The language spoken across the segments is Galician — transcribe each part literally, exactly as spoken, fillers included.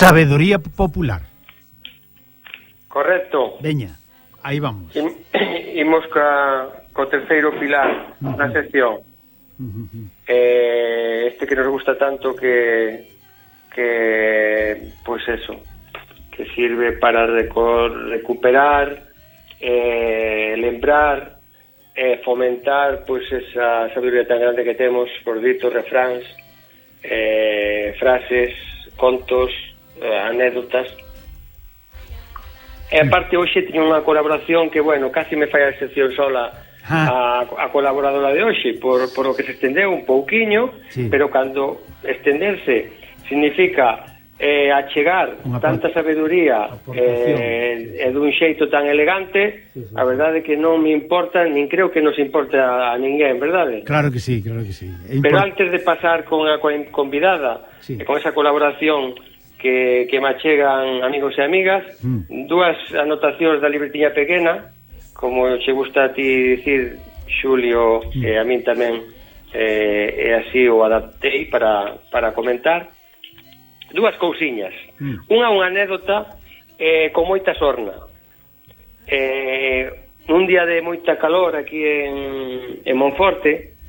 sabedoría popular. Correcto. Veña, aí vamos. Imos ca, co terceiro pilar uh-huh. na sección. Uh-huh. Eh, este que nos gusta tanto que que pues eso, que sirve para reco- recuperar, eh, lembrar, eh, fomentar pues esa sabiduría tan grande que temos por ditos, refráns, eh, frases, contos, eh, anécdotas. E aparte hoxe teño unha colaboración que, bueno, casi me fai a excepción sola a, a colaboradora de hoxe por, por o que se estendeu un pouquiño, sí. Pero cando estenderse significa eh, achegar tanta sabedoría eh, e dun xeito tan elegante, sí, sí. A verdade é que non me importa, nin creo que nos importe a, a ninguén, verdade? Claro que sí, claro que sí. Pero antes de pasar con a convidada, sí. E con esa colaboración que, que me achegan amigos e amigas, mm. dúas anotacións da libretiña pequena, como che gusta a ti dicir, Xulio, mm. e a min tamén, eh, e así o adaptei para, para comentar. Dúas cousiñas. Mm. Unha unha anécdota eh, con moita sorna. Eh, un día de moita calor aquí en, en Monforte,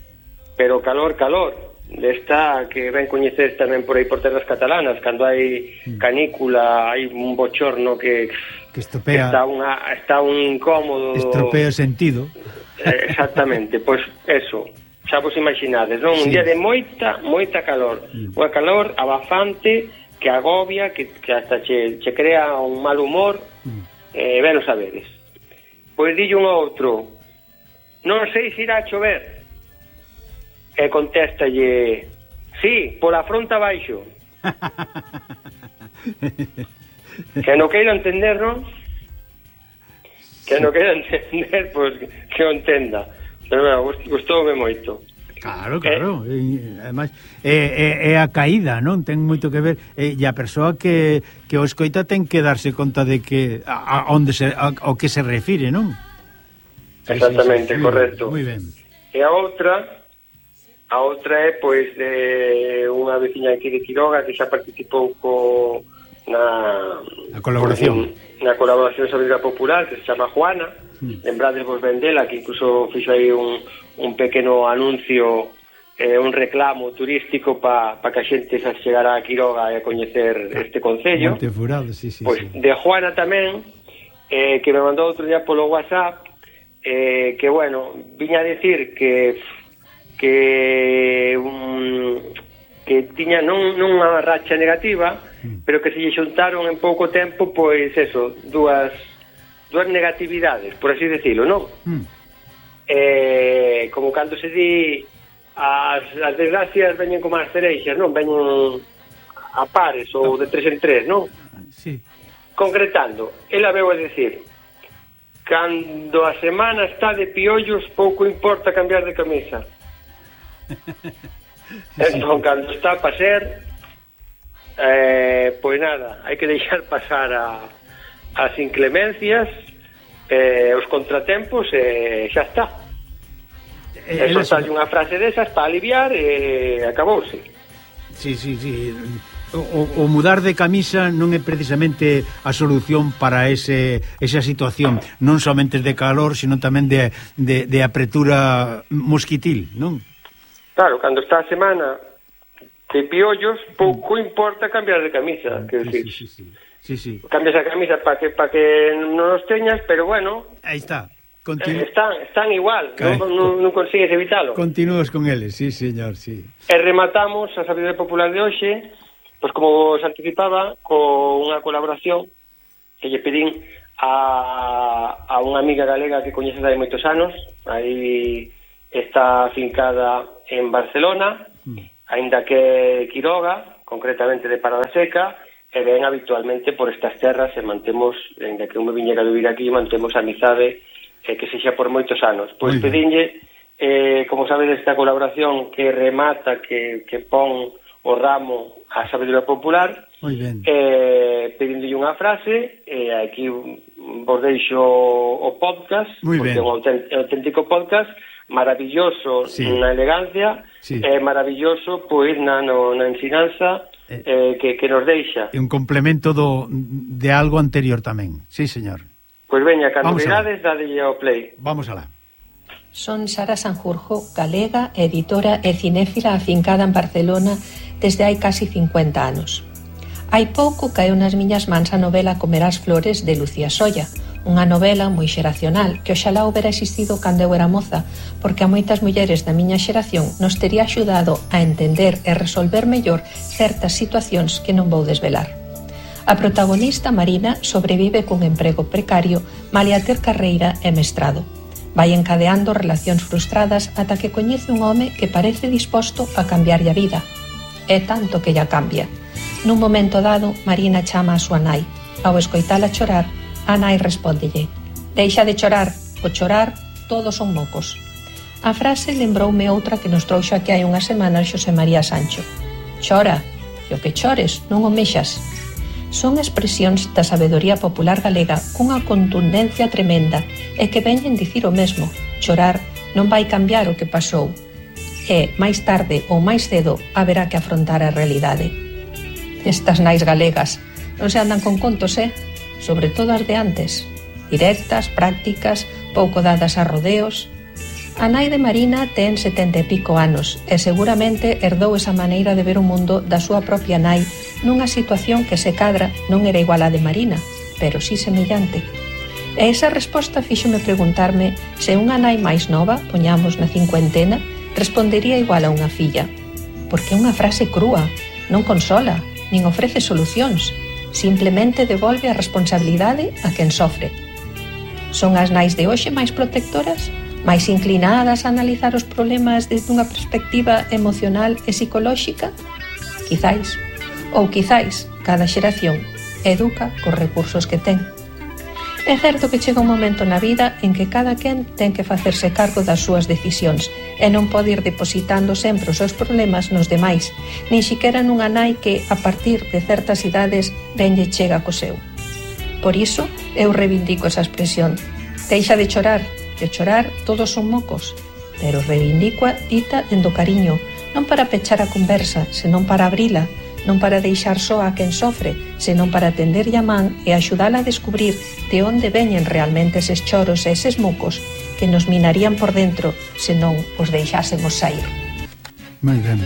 pero calor, calor, desta que ven coñecer tamén por aí por terras catalanas, cando hai canícula, hai un bochorno que, que estropea, está, unha, está un incómodo, estropea o sentido. Eh, exactamente, pois pues eso, xa vos imaginades, non? Un sí. Día de moita, moita calor, mm. unha calor abafante que agobia, que, que hasta che, che crea un mal humor, mm. eh, ben o sabedes. Pois dillo un outro, non sei se irá a chover. E contéstalle, sí, pola fronte abaixo. Que non queira entender, non? Que non queira entender, pois pues, que o entenda. Pero bueno, gustoume moito. Claro, claro. Eh, e, además, é, é, é a caída, non? Ten moito que ver. E, e a persoa que, que o escoita ten que darse conta de que a, a onde se, a, ao que se refire, non? Exactamente, sí, sí, sí. Correcto. Moi ben. E a outra... A outra é, pois, de unha veciña aquí de Quiroga que xa participou co, na... A colaboración. Na colaboración sobre a popular, que se chama Juana. Mm. Lembrades vos ben dela, que incluso fixo aí un, un pequeno anuncio, eh, un reclamo turístico para pa que a xente se chegara a Quiroga e a coñecer este concello. Monte Furado, sí, sí. Pois, sí. De Juana tamén, eh, que me mandou outro día polo WhatsApp, eh, que, bueno, viña a decir que... que um, que tiña non, non unha racha negativa, mm. pero que se lle xuntaron en pouco tempo, pois eso, dúas dúas negatividades, por así decirlo, non? Mm. Eh, como cando se di as, as desgracias veñen como as cereixas, non? Veñen a pares ou de tres en tres, non? Sí. Concretando, ela veu a decir, cando a semana está de piollos, pouco importa cambiar de camisa. Entón, cando está para ser, eh, pois nada, hai que deixar pasar a, as inclemencias, eh, os contratempos, e eh, xa está. E soltarlle unha frase desas para aliviar e eh, acabouse. Sí, sí, sí. O, o mudar de camisa non é precisamente a solución para ese, esa situación, non somente de calor, sino tamén de, de, de apretura mosquitil, non? Claro, cando está a semana de piollos, pouco importa cambiar de camisa, quero sí, dicir. Sí, sí, sí, sí. Cambias a camisa para que para que non os teñas, pero bueno, aí está. Continu... Están, están igual, non, non, non consigues evitalo. Continúas con eles, sí, señor, sí. E rematamos a sabiduría popular de hoxe, pois como os anticipaba, con unha colaboración que lle pedín a, a unha amiga galega que coñeces hai moitos anos, aí está afincada en Barcelona, mm. aínda que Quiroga, concretamente de Parada Seca, e ven habitualmente por estas terras e mantemos, aínda que un me viñera a vivir aquí, mantemos amizade eh, que sexa por moitos anos. Pois pedinlle, eh, como sabedes, esta colaboración que remata, que, que pon o ramo a sabedoria popular, eh, pedinlle unha frase, e eh, aquí vos deixo o podcast, Muy porque ben. é un auténtico podcast, maravilloso sí. na elegancia, sí. e maravilloso pois na, no, na ensinanza eh, que, que nos deixa. E un complemento do, de algo anterior tamén. Sí, señor. Pois veña, cando virades, dadelle ao play. Vamos alá. Son Sara Sanjurjo, galega, editora e cinéfila afincada en Barcelona desde hai casi cincuenta anos. Hai pouco caeu nas miñas mans a novela Comerás flores de Lucía Solla, unha novela moi xeracional que oxalá houbera existido cando eu era moza, porque a moitas mulleres da miña xeración nos tería axudado a entender e resolver mellor certas situacións que non vou desvelar. A protagonista, Marina, sobrevive cun emprego precario, malia ter carreira e mestrado. Vai encadeando relacións frustradas ata que coñece un home que parece disposto a cambiarlle a vida. É tanto que lla cambia. Nun momento dado, Marina chama a súa nai. Ao escoitala chorar, a nai respóndelle: deixa de chorar, o chorar todos son mocos. A frase lembroume outra que nos trouxo aquí hai unhas semanas Xosé María Sancho: chora, e o que chores non o mexas. Son expresións da sabedoría popular galega cunha contundencia tremenda e que veñen dicir o mesmo: chorar non vai cambiar o que pasou, e máis tarde ou máis cedo haberá que afrontar a realidade. Estas nais galegas non se andan con contos, eh? Sobre todo as de antes, directas, prácticas, pouco dadas a rodeos. A nai de Marina ten setenta e pico anos e seguramente herdou esa maneira de ver o mundo da súa propia nai nunha situación que se cadra non era igual a de Marina, pero sí semellante. E esa resposta fíxome preguntarme se unha nai máis nova, poñamos na cincuentena, respondería igual a unha filla. Porque é unha frase crúa, non consola, nin ofrece solucións, simplemente devolve a responsabilidade a quen sofre. Son as nais de hoxe máis protectoras, máis inclinadas a analizar os problemas desde unha perspectiva emocional e psicolóxica? Quizáis. Ou quizáis, cada xeración educa cos recursos que ten. É certo que chega un momento na vida en que cada quen ten que facerse cargo das súas decisións e non pode ir depositando sempre os seus problemas nos demais, nin siquera nunha nai que, a partir de certas idades, venlle chega co seu. Por iso, eu reivindico esa expresión: deixa de chorar, de chorar todos son mocos, pero reivindico dita dendo cariño, non para pechar a conversa, senón para abrila, non para deixar só a quen sofre, senón para tenderlle a man e axudala a descubrir de onde veñen realmente eses choros e eses mocos que nos minarían por dentro se non os deixásemos sair. Moi ben,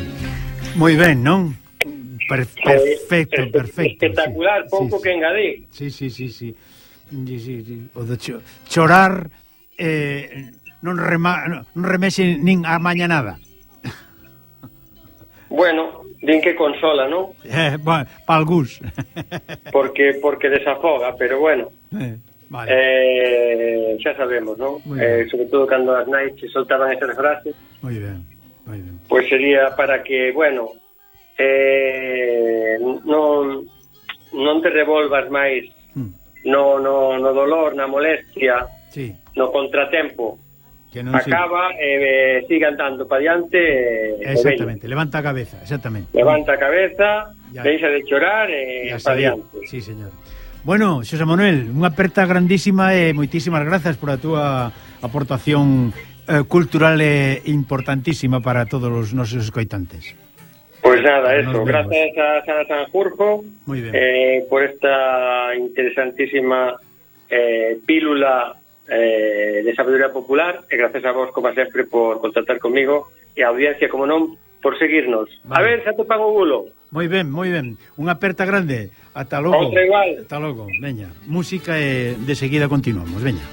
moi ben, non? Per, perfecto, eh, perfecto. Espectacular, sí, pouco sí, que engadir. Sí, sí, sí, sí. sí, sí, sí. O de cho, chorar eh, non, rema, non remexe nin a maña nada. Bueno, din que consola, non? Eh, bueno, pa algús. porque porque desafoga, pero bueno. Eh, vale. Eh, xa sabemos, non? Eh, sobre todo cando as nais se soltaban esas frases. Moi ben, moi ben. Pois pues sería para que, bueno, eh, non non te revolvas máis hmm. no, no, no dolor, na molestia, sí. no contratempo. Que non acaba e eh, sigue andando para diante. Exactamente, levanta a cabeza, exactamente. Levanta a cabeza, ya. Deixa de chorar e para diante. Sí, señor. Bueno, Xosé Manuel, unha aperta grandísima e moitísimas grazas por a túa aportación eh, cultural e importantísima para todos os nosos escoitantes. Pois pues nada, eso, grazas a Sara Sanjurjo eh, por esta interesantísima eh, pílula Eh, de sabedoría popular e gracias a vos, como sempre, por contactar comigo e a audiencia, como non, por seguirnos. Vale. A ver, xa te pago o bulo. Moi ben, moi ben. Unha aperta grande. Ata logo. Outra igual. Ata logo. Veña, música e de seguida continuamos. Veña.